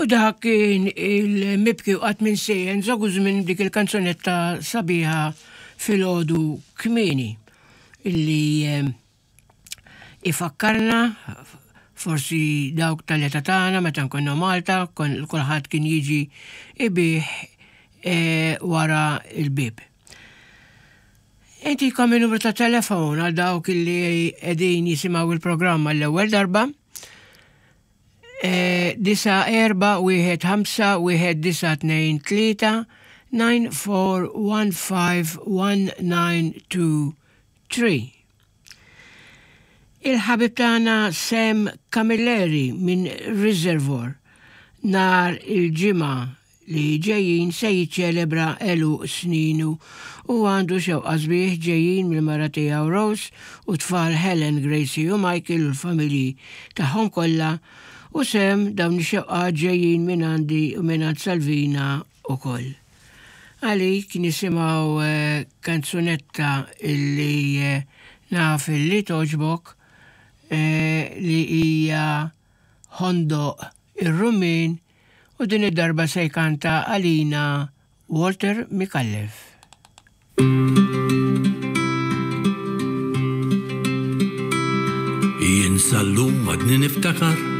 U dak kien il-mibki u qatt minsi Enzo Guzmin b'dik il-kanzunetta sabiħa filgħodu kmieni illi eh, ifakkarna forsi dawk tal-età tagħna meta nkonna Malta, kulħadd kien jiġi ibih eh, wara il-bib. Intikom il-numru ta' telefon għal dawk li qegħdin jisimgħu il-programm għall-ewwel darba. 9 4 1 5 1 9 2 3 9 4 1 5 1 9 2 3. Il-ħabib tagħna Sam Camilleri minn Reservoir nhar il-Ġimgħa li ġejjin se jiċċelebra għeluq sninu u għandu xewqa sbieħ ġejjin mill-mara tiegħu Rose u t-tfal Helen, Gracie u Michael u l-familji tagħhom kollha u Sam dawn ix-xewqat ġejjin mingħandi u mingħand Salvina ukoll. Għalik nisimgħu kanzunetta illi naf illi togħġbok li hija Ħondoq ir-Rummien u din id-darba se jkanta għalina Walter Micallef. Jien sal-lum għadni niftakar.